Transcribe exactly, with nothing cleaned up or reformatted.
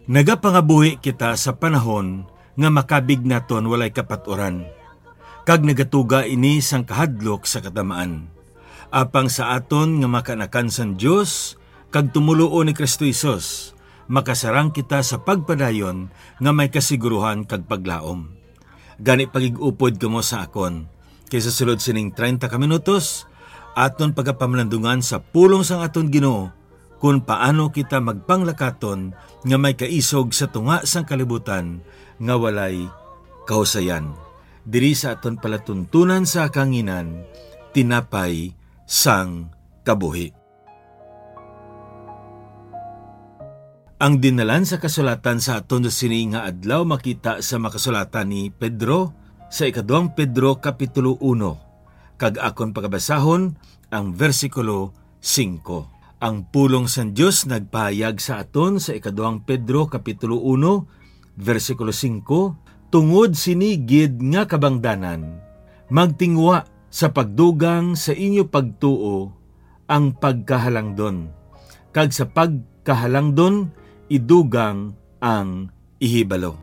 Nagapangabuhi kita sa panahon nga makabig naton walay kapaturan, kag nagatuga ini sang kahadlok sa katamaan. Apang sa aton nga mga kaanakan sang Dios kag tumoluo ni Cristo Jesus, makasarang kita sa pagpadayon nga may kasiguruhan kag paglaom. Gani, pagig-upod kamo sa akon, kay sa sulod sining treinta ka minutos, aton pagapamalandungan sa pulong sang aton Ginoo, kon paano kita magpanglakaton nga may kaisog sa tunga sang kalibutan nga walay kahusayan. Diri sa aton palatuntunan sa kahanginan, tinapay sang kabuhi. Ang dinalan sa kasulatan sa aton sa sini nga adlaw makita sa makasulatan ni Pedro sa ikaduhang Pedro kapitulo uno, kag akon pagabasahon ang bersikulo singko. Ang pulong sang Dios nagpahayag sa aton sa ikaduhang Pedro kapitulo uno, bersikulo singko, "Tungod sini gid nga kabangdanan, magtinguha sa pagdugang sa inyo pagtuo ang pagkahalangdon, kag sa pagkahalangdon idugang ang ihibalo."